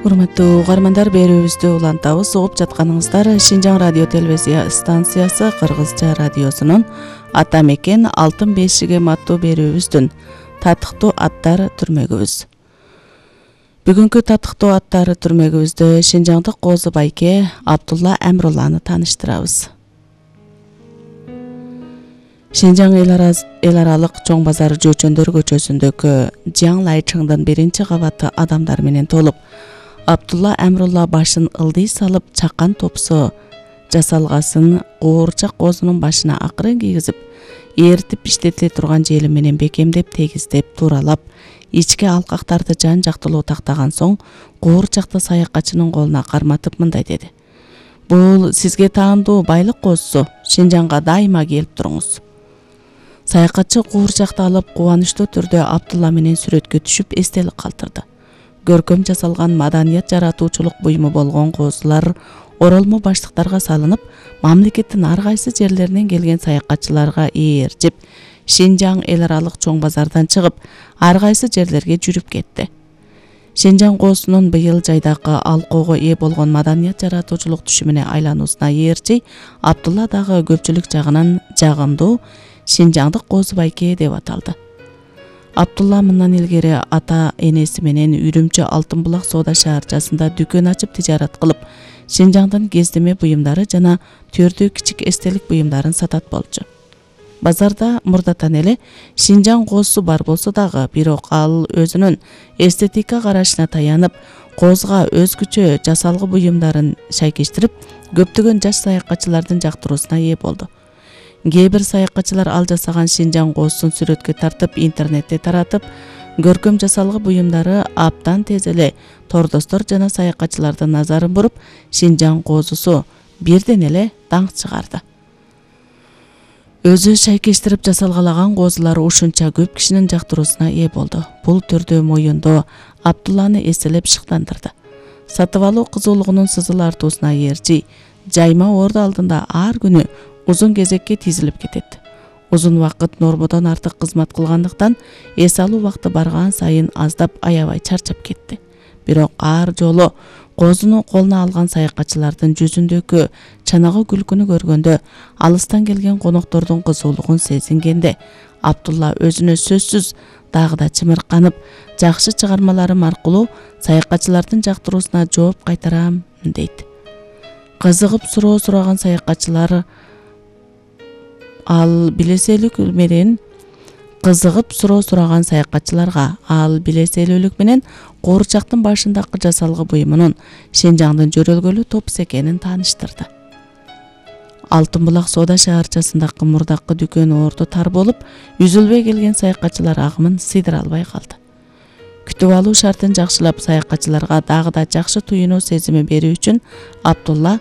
Урматтуу угармандар, берүүбүздү улантабыз. Угуп жатканыңыздар Шинжаң радио телевизия станциясы Кыргызча радиосунун Ата мекен алтын бешигим аттуу берүүбүздүн татыктуу аттар түрмөгүбүз. Бүгүнкү татыктуу аттар түрмөгүбүздө Шинжаңдык Козу байке Абдулла Амрулланы тааныштырабыз. Шинжаң эл аралык чоң базар Жөчөндөр көчөсүндөгү Жаң Лайчыңдын биринчи кабаты адамдар менен толуп, Абдулла Амрулла башын ылдый салып чакан топсо жасалгасын куурчак козунун башына акырын кийгизип, эритип иштетиле турган жели менен бекемдеп тегиздеп тууралап, ички алкактарды жан жактылуу тактаган соң куурчакты саякатчынын колуна карматып мындай деди: "Бул сизге таандуу байлык козусу, Шинжаңга дайыма келип туруңуз." Саякатчы куурчакты алып кубанычтуу түрдө Абдулла менен сүрөткө түшүп эстелик калтырды. Көркөм жасалган маданият жаратуучулук буюму болгон козулар оролмо баштыктарга салынып, мамлекеттин ар кайсы жерлеринен келген саякатчыларга ээрчип, Шинжаң эл аралык чоң базардан чыгып, ар кайсы жерлерге жүрүп кетти. Шинжаң козусунун быйыл жайдакы алкоого ээ болгон маданият жаратуучулук түшүмүнө айлануусуна ээрчи Абдулла дагы көпчүлүк жагынан жагымдуу Шинжаңдык Козу байке деп аталды. Абдулла мындан илгери ата энеси менен Үрүмчү Алтын булак соода шаарчасында дүкөн ачып тижарат кылып, Шинжаңдын кездеме буюмдары жана төрдүү кичик эстелик буюмдарын сатат болчу. Базарда мурдатан эле Шинжаң козусу бар болсо дагы, бирок ал өзүнүн эстетика карашына таянып, козуга өзгөчө жасалгы буюмдарын шайкештирип, көптөгөн жаш саякатчылардын жактыруусуна ээ болду. Кээ бир саякатчылар ал жасаган Шинжаң козусун сүрөткө тартып, интернетте таратып, көркөм жасалгы буюмдары абдан тез эле тордостор жана саякатчылардын назарын буруп, Шинжаң козусу бирден эле даңк чыгарды. Өзү шайкештирип жасалгалаган козулар ушунча көп кишинин жактыруусуна ээ болду. Бул түрдүү моюндоо Абдулланы эселеп шыктандырды. Сатып алуу кызуулугунун сызыл артуусуна ээрчи жайма орду алдында ар күнү узун кезекке тизилип кетет. Узун убакыт нормодон артык кызмат кылгандыктан эс алуу убакыты барган сайын аздап аябай чарчап кетти. Бирок ар жолу козуну колуна алган саякатчылардын жүзүндөгү чанагы күлкүнү көргөндө, алыстан келген коноктордун кызуулугун сезингенде, Абдулла өзүнө сөзсүз дагы да чымырканып, жакшы чыгармаларым аркылуу саякатчылардын жактыруусуна жооп кайтарам дейт. Кызыгып суроо сураган саякатчылар ал билеселүүлүк менен куурчактын башындагы жасалгы буюмунун Шинжаңдын жөрөлгөлүү топус экенин тааныштырды. Алтын булак соода шаарчасындагы мурдакы дүкөн орду тар болуп, үзүлбөй келген саякатчылар агымын сыйдыра албай калды. Күтүп алуу шартын жакшылап, саякатчыларга дагы да жакшы туюнуу сезими берүү үчүн Абдулла